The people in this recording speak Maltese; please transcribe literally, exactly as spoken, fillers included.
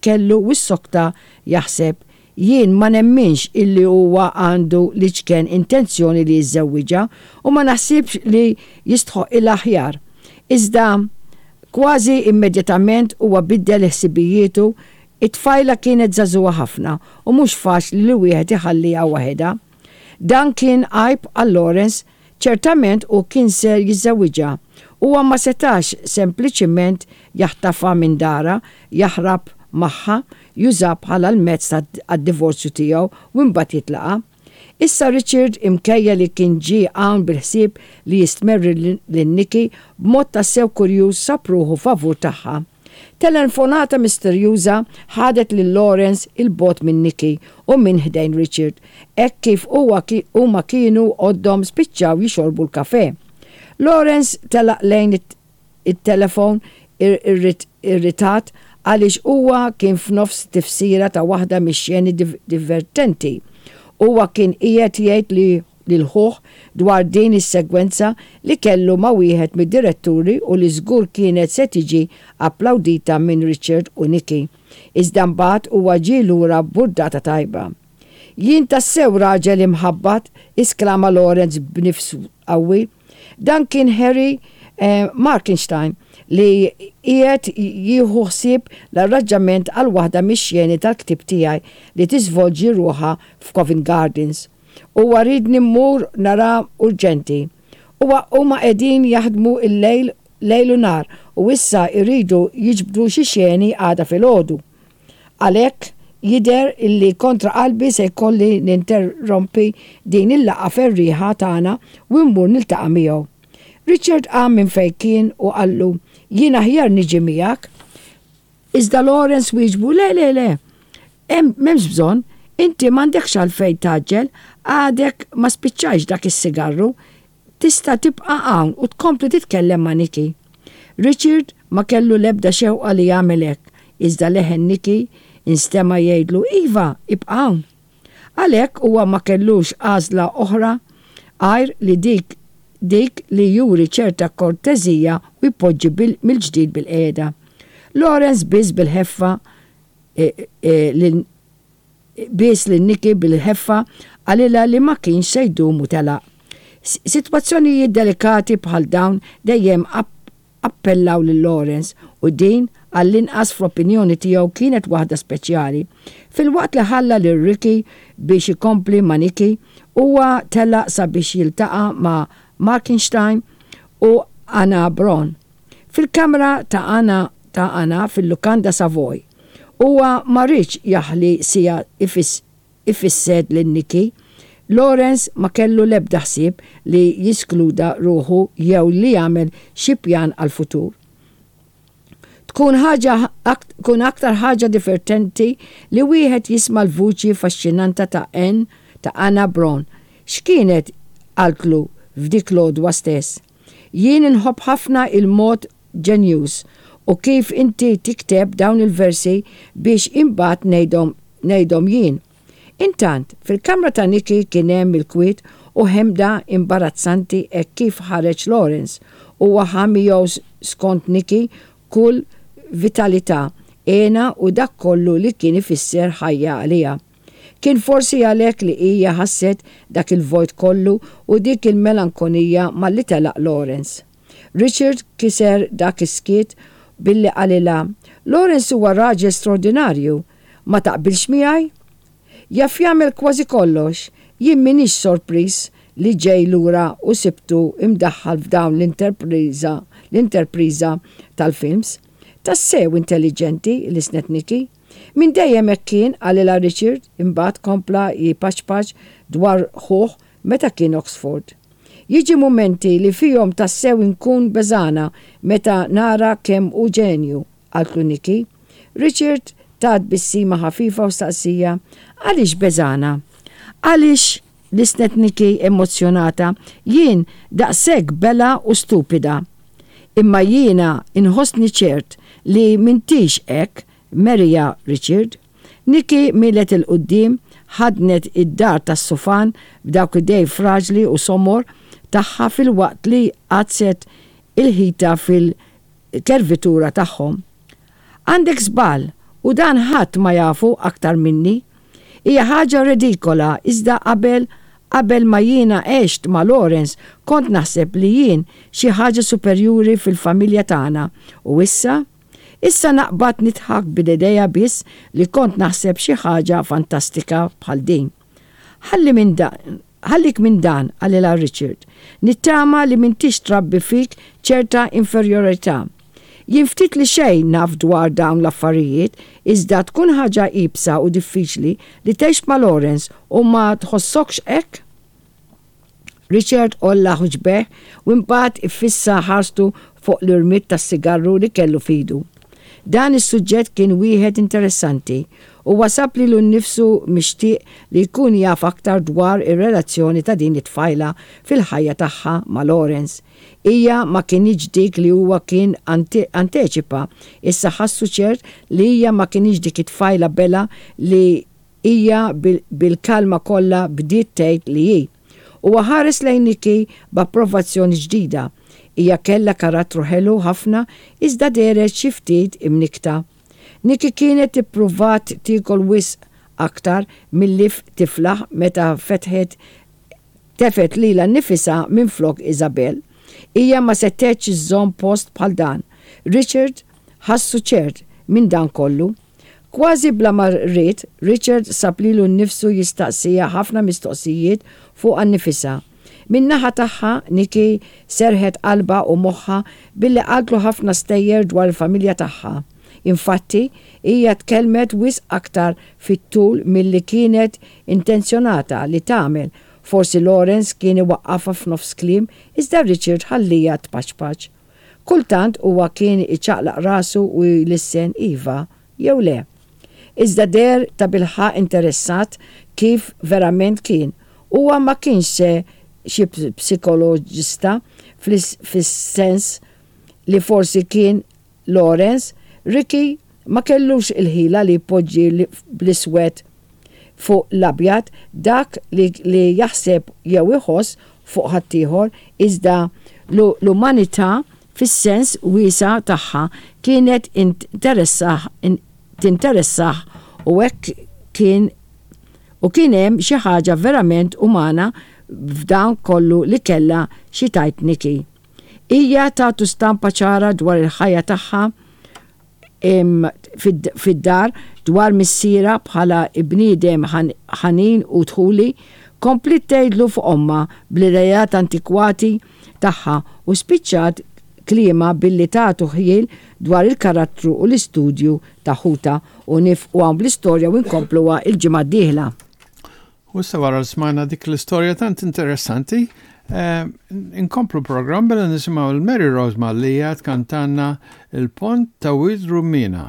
kellu u ssokta jaħseb jien ma nemminx illi huwa għandu l-iċken intenzjoni li jiżżewwiġha u ma naħsibx li jistħoqqilha aħjar. Iżda kważi immedjatament huwa biddel ħsibijietu it-tfajla kienet żagħżugħa ħafna u mhux faċli li wieħed iħalliha waħedha. Dan kien għajb għal Lawrence, ċertament u kien ser jiżżewwiġha. Huwa ma setax sempliċiment jaħtafha minn darha, jaħrab magħha, juża bħala l-mezz għad-divorzju tiegħu u mbagħad jitlaqha. Issa Richard minkejja li kien ġie hawn bil-ħsieb li jistmerri lil Nikki b'mod tassew kurjuż sab ruħu favur tagħha. Telefonata misterjuża ħadet lil Lawrence 'il bogħod minn Nikki u minn ħdejn Richard, hekk kif huwa huma kienu għoddhom spiċċaw jixorbu l-kafe. Lawrence telaq lejn it-telefon irritat għaliex huwa kien f'nofs tifsira ta' waħda mix-xeni divertenti. Huwa kien qiegħed jgħid li lil ħuh dwar din is-segwenza li kellu ma' wieħed mid-diretturi u li żgur kienet se tiġi applaudita minn Richard u Nikki. Iżda mbagħad huwa ġie lura burdata tajba. Jien tassew raġel imħabbat, isklama Lawrence b'nifs qawwi. Dan kien Harry eh, Markenstein li qiegħed jieħu ħsieb l-arranġament għal waħda mix-xeni tal-ktib tiegħi li tiżvolġi ruħha f'Covent Gardens. Huwa riedni mmur nara urġenti. Huwa huma qegħdin jaħdmu il-lejl lejl u nhar u issa jridu jiġbdu xi xeni għada filgħodu. Għalhekk jidher illi kontra qalbi se jkolli ninterrompi din il-laqgħa ferrieħa tagħna u mmur niltaqa' miegħu. Richard qam minn fejn kien u qallu jien aħjar niġi miegħek. Iżda Lawrence wieġbu le le le. Hemm m'hemmx bżonn, inti m'għandekx għalfejn tgħaġġel, għadek ma spiċċajx dak is-sigarru, tista' tibqa' hawn u tkompli titkellem ma' Nikki. Richard ma kellu l-ebda xewqa li jagħmel hekk, iżda leħen Nikki instema' jgħidlu iva, ibqa' hawn. Għalhekk huwa ma kellux għażla oħra għajr li dik dik li juri ċerta kortezija u jpoġġi mill-ġdid bilqiegħda. Lawrence biss bil-ħeffa e, e, biss lil Nikki bil-ħeffa qalilha li ma kienx se jdum u telaq. Sitwazzjonijiet delikati bħal dawn dejjem appellaw lil Lawrence u din għall-inqas fl-opinjoni tiegħu kienet waħda speċjali. Filwaqt li ħalla lil Ricky biex ikompli ma' Nikki, huwa telaq sabiex jiltaqa' ma' Markenstein u Anna Bron. Fil-kamra ta' Anna ta' Anna fil-Lukanda Savoy. Huwa ma riedx jaħli siegħa ifissed lil Nikki. Lawrence ma kellu lebda ħsieb li jiskludi ruħu jew li jagħmel xi pjan għal-futur. Tkun ħaġa tkun aktar ħaġa divertenti li wieħed jisma' l-vuċi faxxinanta ta' N ta' Anna Brown. X'kienet qaltlu f'dik l-għodwa stess. Jien inħobb ħafna il-mod ġenjuż u kif inti tikteb dawn il-versi biex imbagħad ngħidhom ngħidhom jien. Intant, fil-kamra ta' Nikki kien hemm il-kwiet u ħemda imbarazzanti e kif ħareġ Lawrence u ħa miegħu skont Nikki kull vitalità, hena u dak kollu li kien ifisser ħajja għaliha. Kien forsi għalhekk li hija ħasset dak il-vojt kollu u dik il-melankonija malli telaq Lawrence. Richard kiser dak is-skiet billi qalilha, Lawrence huwa raġel straordinarju, ma taqbilx miegħi? Jaf jagħmel kważi kollox, jien m'iniex sorpriż li ġej lura u sibtu imdaħħal f'dawn l-interpriża l-interpriża tal-films. Tassew intelligenti lissnet Nikki. Min dejjem hekk kien qalilha Richard imbagħad kompla jipaċpaċ dwar ħuh meta kien Oxford. Jiġi momenti li fihom tassew inkun beżgħana meta nara kemm hu ġenju, qaltlu Nikki. Richard ta tbissima ħafifa u staqsieha, għaliex beżgħana? Għaliex lissnet Nikki emozjonata, jien daqshekk belha u stupida. Imma jiena inħossni ċert li m'intix hekk, Maria Richard. Nikki mielet 'il quddiem ħadnet id-dar tas-sufan b'dawk idej fraġli u somor tagħha filwaqt li għaddset il-ħita fil-kervitura tagħhom. Għandek żball U dan ħadd ma jafu aktar minni. Hija ħaġa redikola, iżda qabel qabel ma jiena għext ma' Lawrence kont naħseb li jien xi ħaġa superjuri fil-familja tagħna u issa issa naqbad nidħak bl-idea biss li kont naħseb xi ħaġa fantastika bħal din. Ħalli minn dan, ħallik minn dan, qalilha Richard. Nittama li m'intix trabbi fik ċerta inferjorità. Jien ftit li xejn naf dwar dawn l-affarijiet, iżda tkun ħaġa iebsa u diffiċli li tgħix ma' Lawrence u ma tħossokx hekk? Richard għolla ħuġbejh u mbagħad iffissa ħarstu fuq l-irmied tas-sigarru li kellu f'idu. Dan is-suġġett kien wieħed interessanti u sab lilu nnifsu mixtieq li jkun jaf aktar dwar ir-relazzjoni ta' din it-tfajla fil-ħajja tagħha ma' Lawrence. Hija ma kinitx dik li huwa kien anteċipa, issa ħassu ċert li hija ma kinitx dik it-tfajla bella li hija bil-kalma kollha bdiet tgħid li hi. Huwa ħares lejn Nikki b'approvazzjoni ġdida. Hija kellha karattru ħelu ħafna, iżda dehret xi ftit imnikkta. Nikki kienet ippruvat tiekol wisq aktar milli tiflaħ meta fetħet tefgħet lilha nnifisha minflok Isabel. Hija ma setgħetx iżżomm post bħal dan. Richard ħassu ċert minn dan kollu. Kważi bla ma ried, Richard sab lilu nnifsu jistaqsiha ħafna mistoqsijiet fuqha nnifisha. Min-naħa tagħha, Nikki serħet qalbha u moħħha billi qaltlu ħafna stejjer dwar il-familja tagħha. Infatti, hija tkellmet wisq aktar fit-tul milli kienet intenzjonata li tagħmel. Forsi Lawrence kien iwaqqafha f'nofs kliem, iżda Richard ħalliha tpaċpaċ. Kultant huwa kien iċaqlaq rasu u jlissen iva jew le. Iżda deher tabilħaqq interessat kif verament kien. Huwa ma kienx se xi psikoloġista fis-sens li forsi kien Lawrence, Ricky ma kellux il-ħila li jpoġġi bl-iswed fuq l-abjad dak li, li jaħseb jew iħoss fuq ħaddieħor, iżda l-umanità fis-sens wiesa' tagħha kienet tinteressah u hekk kien u kien hemm xi ħaġa verament umana f'dan kollu li kellha xi tgħid Nikki. Hija tatu stampa ċara dwar il-ħajja tagħha fid-dar, dwar missierha bħala bniedem ħanin u dħuli, kompliet tgħidlu fuq ommha bl-idejat antikwati tagħha u spiċċat kliemha billi tatu ħjiel dwar il-karattru u l-istudju ta' ħutha. U nieqfu hawn bl-istorja u nkompluha il-ġimgħa d-dieħla. U issa wara smajna dik l-istorja tant interessanti, eh, inkomplu programm billi nisimgħu il-Mary Rose Mallia tkantanna Il-Pont ta' Wied Rummina.